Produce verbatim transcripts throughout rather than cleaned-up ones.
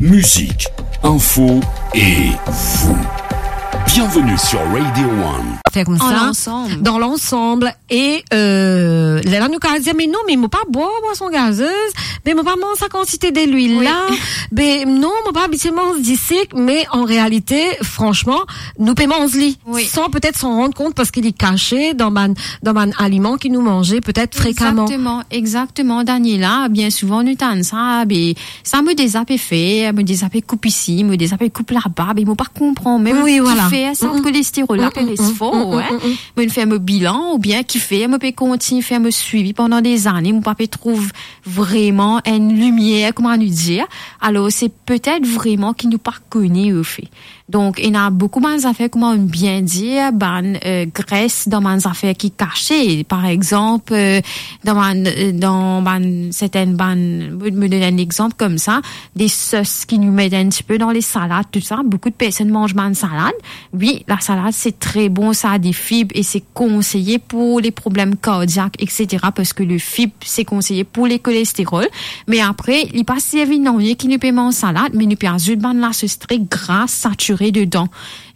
Musique, info et vous. Bienvenue sur Radio One. Fer koumsa, dan lansanm. E, euh, lerla nou kapav dir, "Me non, me mo pa bwar bwason gazez, me mo pa manz sa kantite delwil la, me non, mo pa abitie manz disik," me an realite, fransman, nou pe manz li, san petet s'en rendre compte, parski li kase dan bann, dan bann aliman ki nou manze petet frekaman. Exactement, exactement, Daniela. Bien souvan, nou tann sa, be, sa mo deza pe fer, mo deza pe koup isi, mo deza pe koup laba, be mo pa konpran mem kifer sa kolesterol la pe res for, hein. Mo finn fer mo bilan, oubien kifer mo pe kontign fer mo swivi pandan dezane, mo pa pe trouv vreman enn limier, kouma nou dir. Alor, se petet vreman ki nou pa kone, anfet. Donk, ena boukou bann zafer, kouma nou bien dir, bann, euh, gres dan bann zafer ki kase. Par exanp, euh, dan bann, euh, dan bann, sertin bann, mo, mo donn enn exanp koumsa, de sos ki nou met enn tipe dan le salad, tou sa. Boukou de personn manz bann salad. Wi, lasalad, se tre bon, sa a de fib e se konseye pou le problem kardiak, et cetera, parski le fib, se konseye pou le kolesterol. Me apre, li pa servi nanye ki nou pe manz salad, me nou pe azout bann lasos tre gra, satire dedan.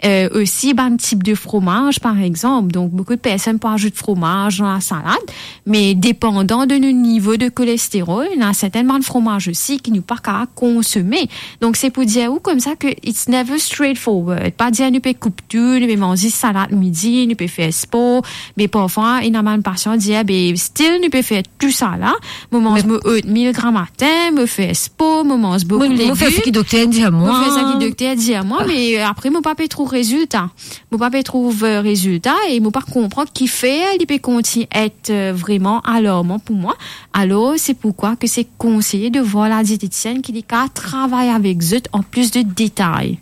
Euh, osi, bann tip de fromaz, par exanp. Donk, boukou de personn pou azout fromaz dan lasalad, me depandan de nou nivo de kolesterol, ena sertin bann fromaz osi ki nou pa kapav konsome. Donk, se pou dir ou koumsa ke it's never straightforward. Pa dir nou pe koup tou, nou pe manz salad midi, nou pe fer spor, me parfwa, ena bann pasian dir, be, still, nou pe fer tou sa la. Mo manz mo oatmeal gramatin, mo fer spor, mo manz boukou legim. Mo fer seki dokter dir mwa. Mo fer seki dokter dir mwa, me, euh, apre, mo pa pe trouv rezilta. Mo pa pe trouv, euh, rezilta e mo pa konpran kifer li pe kontign et, euh, vreman alarman pou mwa. Alor, se poukwa ke se konseye de vwar la dietetisienn ki li kapav travay avek zot an plis de detay.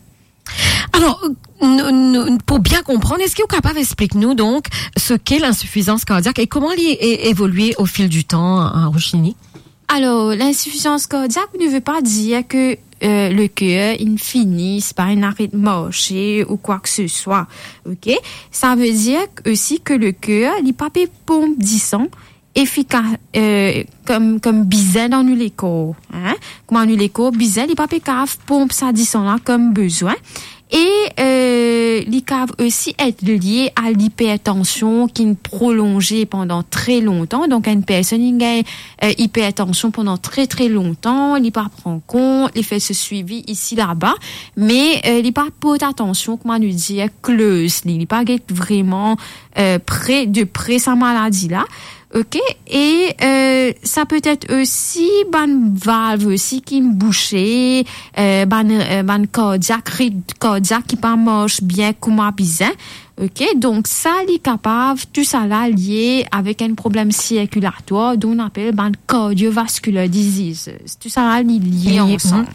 Alor, nou, nou, pou bien konprann, eski ou kapav explik nou donk seki linsifizans kardiak e kouma li e-, evolye o fil di tan, hein, Roshini? Alor, linsifizans kardiak ne ve pa dir ke, euh, le ker inn fini, sipa inn aret marse ou kwa ke se swa, ok? Sa ve dir osi ke le ker, li pa pe ponp disan efika-, euh, kom, kom bizin dan nou lekor, hein? Kouma nou lekor bizin, li pa pe kapav ponp sa disan la kom bizin. E, euh, li kapav osi et lie a lipertansion ki'nn prolonze pandan tre lontan. Donk, enn personn inn gagn, euh, ipertansion pandan tre, tre lontan, li pa pran kont, li fer so swivi isi, laba, me, euh, li pa port atansion, kouma nou dir, closely, li pa get vreman, euh, pre, de pre sa maladi la. Ok, e, euh, sa petet osi bann valv osi ki'nn bouse, euh, bann, euh, bann kardiak, ritm kardiak ki pa mars bien kouma bizin. Ok, donk sa li kapav, tou sa la lie avek enn problem sirkilatwar, donk nou apel bann cardiovascular diseases. Tou sa la li lie ansam.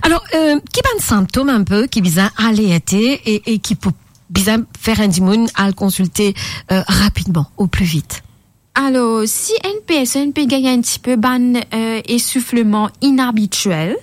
Alor, euh, ki bann sintom inpe ki bizin alerte e, e ki pou bizin fer enn dimoun al konsilte, euh, rapidman, o pli vit? Alor, si enn personn pe gagn enn tipe bann, euh, esoufleman inabitiel,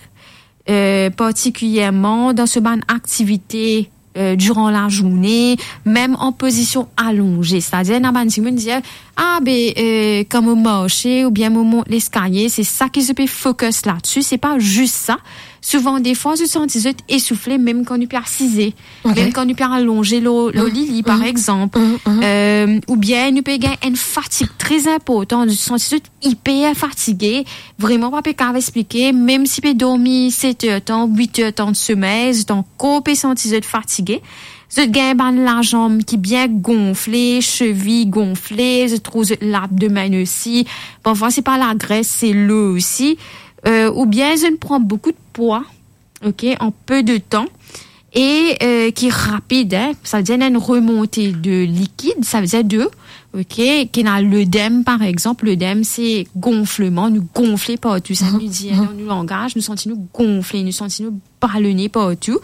euh, partikilierman dan so bann aktivite, euh, diran lazourne, mem an pozision alonze. Setadir, ena bann dimoun dir, "Ah, be, euh, kan mo marse oubien mo mont leskalie, se sa ki zot pe focus ladsi." Se pa zis sa. Souvan, defwa, zot santi zot esoufle mem kan nou pe asize, mem kan nou pe alonze lor, lor lili, par exanp. Euh, oubien nou pe gagn enn fatig tre inportan, zot santi zot iper fatige, vreman pa pe kapav explike, mem si pe dormi set er tan, wit er tan de somey, zot ankor pe santi zot fatige. Zot gagn bann lazanm ki bien gonfle, sevi gonfle, zot trouv zot labdomenn osi. Parfwa, se pa lagres, se lo osi. Euh, oubien zot pran boukou de pwa, ok, an pe de tan, e, euh, ki rapid, hein, sa ve dir enn remonte de likid, sa ve dir de, ok, ki ena ledem, par exanp, ledem, se gonfleman, nou gonfle partou, sa nou dir dan nou langaz, nou santi nou gonfle, nou santi nou balone partou,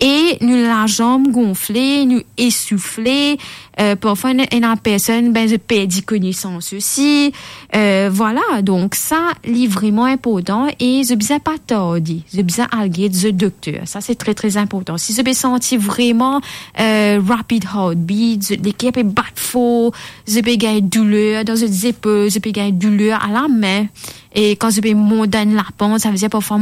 e nou lazanm gonfle, nou esoufle, euh, parfwa ena, ena personn, be, zot perdi konesans osi, euh, vwala, donk sa, li vreman inportan e zot bizin pa tarde, zot bizin al get zot dokter. Sa, se tre, tre inportan. Si zot pe santi vreman, euh, rapid heartbeat, zot leker pe bat for, zot pe gagn douler dan zot zepol, zot pe gagn douler a lame, e kan zot pe mont dan enn lapant, sa ve dir parfwa